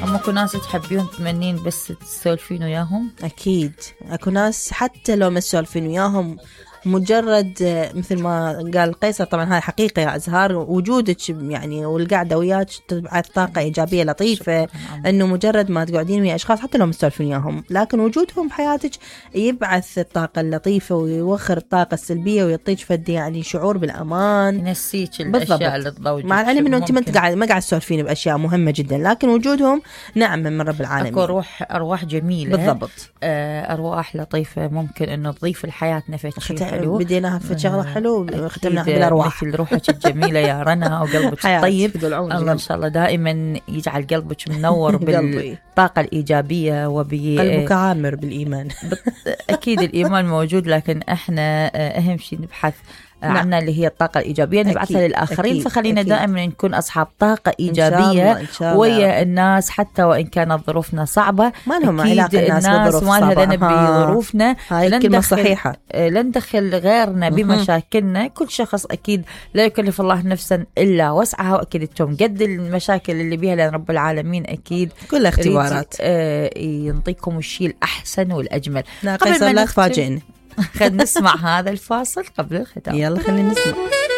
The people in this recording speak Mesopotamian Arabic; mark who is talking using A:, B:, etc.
A: هم اكو ناس تحبيهم تمنين بس تسولفين وياهم.
B: اكيد اكو ناس حتى لو ما تسولفين وياهم، مجرد مثل ما قال قيصر، طبعا هاي حقيقة يا أزهار، وجودك يعني والقعدة وياك تبعث طاقة إيجابية لطيفة. إنه مجرد ما تقعدين ويا أشخاص حتى لو مستولفين وياهم، لكن وجودهم بحياتك يبعث الطاقة اللطيفة ويوخر الطاقة السلبية ويعطيك فد يعني شعور بالأمان،
A: ينسيك الأشياء اللي تضوجك.
B: مع العلم إنه أنت ما قاعد تسولفين بأشياء مهمة جدا، لكن وجودهم نعمة من رب العالمين.
A: أكو أرواح جميلة
B: بالضبط،
A: أرواح لطيفة ممكن إنه تضيف لحياتنا في شيء حلو.
B: بديناها في شغله حلو، ختمناها بالارواح،
A: مثل روحك الجميله يا رنا وقلبك الطيب. الله ان شاء الله دائما يجعل قلبك منور بالطاقه الايجابيه
B: قلبك عامر بالايمان.
A: اكيد الايمان موجود، لكن احنا اهم شيء نبحث عنا اللي هي الطاقة الإيجابية نبعثها للآخرين. أكيد. فخلينا دائما نكون أصحاب طاقة إيجابية إن شاء الله. ويا الناس حتى وإن كانت ظروفنا صعبة،
B: ما لهم علاقة الناس بظروف صعبة،
A: ما لنا بظروفنا.
B: هاي الكلمة صحيحة.
A: لن ندخل غيرنا بمشاكلنا. كل شخص أكيد لا يكلف الله نفسا إلا وسعها، وأكيد أنتم قد المشاكل اللي بيها، لأن رب العالمين أكيد
B: كل اختبارات
A: ينطيكم الشيء الأحسن والأجمل.
B: لا قيصر لا تفاجئني.
A: خلينا نسمع هذا الفاصل قبل الختام.
B: يلا خلينا نسمع.